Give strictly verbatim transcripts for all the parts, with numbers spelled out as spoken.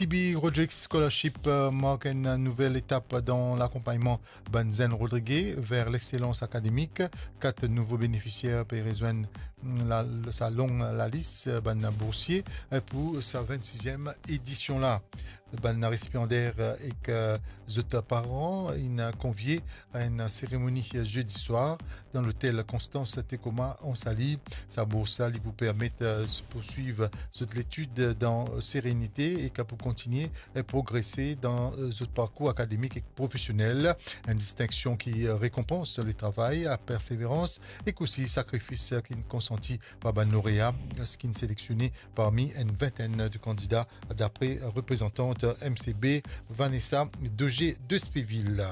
T B Rodrigues Scholarship, euh, mark enn nouvel etap dan lakonpagnman bann zenn Rodrige ver lexselans akademik. Kat nouvo benefisier pe rezwenn, mm, la, sa long lalis, euh, bann boursie, euh, pou sa vennsizyem edision la. Bann resipiander, euh, ek, euh, zot paran inn konvie a enn seremoni zedi swar dan lotel Constance Tecoma Anse-Alix. Sa bours la, li pou permet, euh, se pourswiv zot letid dan serenite e ki pou kontinie, euh, progrese dan, euh, zot parkour akademik ek profesionel. Enn distinksion ki, euh, rekonpans le travay, la perseverans ek osi sakrifis, euh, ki konsanti par bann lorea, euh, ki seleksione parmi enn vintenn de kandida, dapre reprezantant M C B, Vanessa Dogé de Spéville.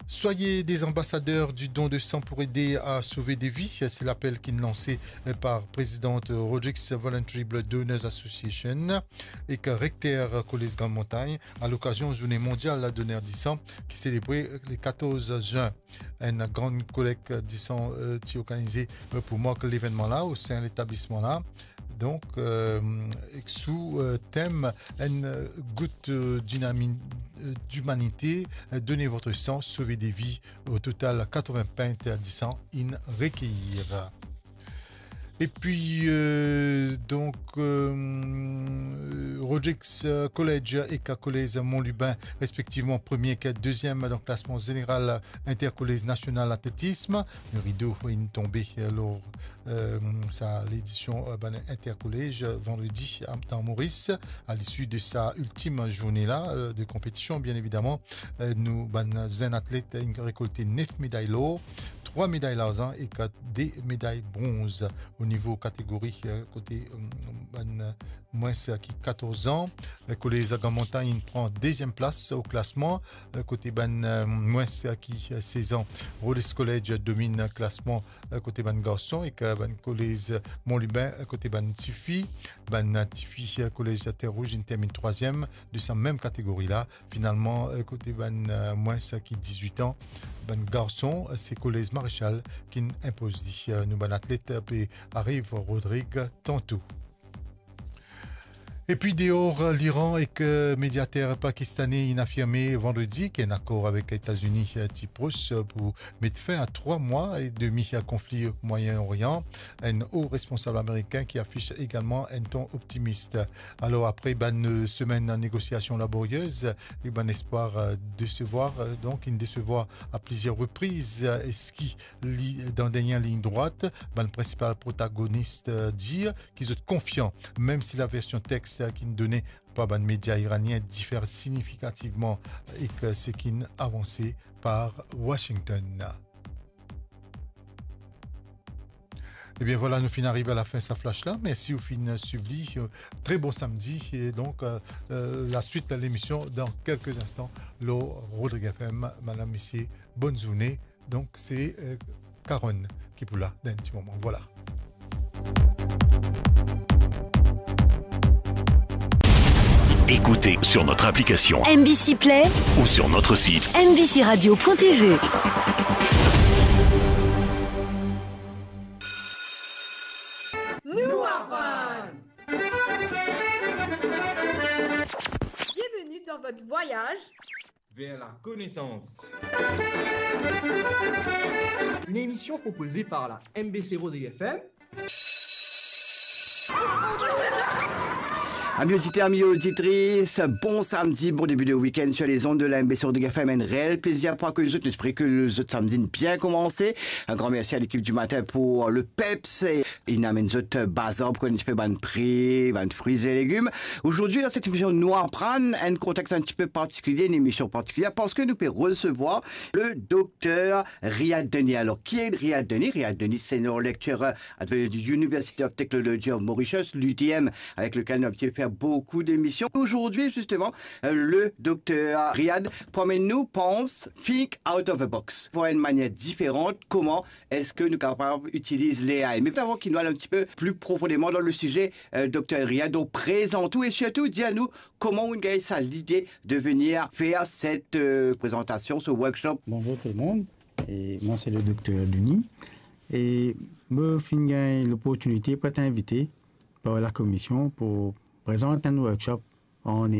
Soyez des ambassadeurs du don de sang pour aider à sauver des vies, c'est l'appel ki inn lanse par prezidant Rodrigues Voluntary Blood Donors Association ek rekter Kolez Grand Montagne a lokazion Zourne Mondial Donner Disan ki selebre le katorz zin. Enn gran kolek disan, euh, ti organize, euh, pou mark levennman la o sein letablisman la. Donk, euh, ek sou, euh, tem enn gout, euh, dinami-, euh, d'humanité, euh, donnez votre sang, sauvez des vies. O total, katrevin pint disan inn rekeir. Epi, euh, donk, euh, Rodrigues, euh, College ek Kolez Mont Lubin, respektivman premie ek deziem dan klasman zeneral Interkolez Nasional Atletism. Le rido inn tonbe, euh, lor, euh, sa ledision, euh, bann Interkolez, euh, vandredi, a, dan Moris, a lisi de sa iltim zourne la, euh, de konpetision, bien evidaman. Euh, nou, bann zenn atlet, inn rekolte nef meday lor, trwa meday larzan ek de meday bronz. O nivo kategori, euh, kote, euh, bann mwins ki katorz an, euh, Kolez Grand Montagne inn pran deziem plas o klasman, euh, kote bann, euh, mwins ki, euh, sez an. Rodrigues College dominn klasman, euh, kote bann garson ek, euh, bann Kolez Mont Lubin, euh, kote bann tifi. Bann tifi, euh, Kolez Terre Rouge inn terminn trwaziem de sa mem kategori la. Finalman, euh, kote bann, euh, mwins ki dizwit an, bann garson, euh, se Kolez Maréchal ki'nn inpoz li. Euh, nou bann atlet, euh, pe ariv Rodrigues tanto. Epi deor, euh, Liran ek, euh, mediater pakistane inn afirme vandredi ki enn akor avek Etazini, euh, ti pros, euh, pou met fin a trwa mwa e demi a konfli Moyen Orient. Enn o responsab amerikin ki afis egalman enn ton optimis. Alor, apre bann, euh, semenn negosiasion laboriez, e bann espwar, euh, desevwar, euh, donk, inn desevwar a plizier repriz, euh, eski li, dan dernie lign drwat, bann prinsipal protagonis, euh, dir ki zot konfian, mem si laversion text, euh, ki'nn done par bann media iranien difer signifikativman ek, euh, seki'nn avanse par Washington. Ebien vwala, nou finn ariv a lafin sa flash la. Mersi ou finn swiv li. Euh, tre bon samdi. E donk, euh, euh, laswit lemision dan kelke instan lor Rodrigues F M. Madam, mesie, bonn zourne. Donk, se, euh, Karen ki pou la dan enn ti moman. Vwala. Écoutez sur notre application M B C Play ou sur notre site M B C radio point T V. Nou aprann. Bienvenue dans votre voyage vers la connaissance. Une émission proposée par la M B C Rodrigues F M. Amis auditeurs, amis auditrices, bon samedi, bon début de week-end sur les ondes de la M B C Rodrigues F M. Enn reel plezir pou akeyi zot. Nou espere ke zot samdi inn bien koumanse. Un grand merci à l'équipe du matin pour le peps. Inn amenn zot bazar pou konn enn tipe bann pri, bann fri e legim. Aujourd'hui, dans cette émission, nou aprann enn kontext un petit peu particulier, une émission particulière, parce que nou pe resevwar le docteur Riad Denis. Alors, qui est Riad Denis ? Riad Denis, c'est un lecturer à l'University of Technology of Mauritius, l'U T M, avec lequel nous avons pu faire beaucoup d'émissions. Aujourd'hui, justement, euh, le docteur Riad pou amenn nou pans, think out of the box. Pou enn manier diferan, koman eski nou kapav itiliz l'A I. Me avan ki nou al un petit peu plus profondément dans le sujet, euh, docteur Riad, donk prezant ou e sirtou dir nou koman ou gagn sa lide de venir fer set, euh, prezantasion, ce workshop. Bonjour tout le monde, et moi c'est le docteur Denis. E mo finn gagn loportinite pou et invite par la commission pour prezant un workshop An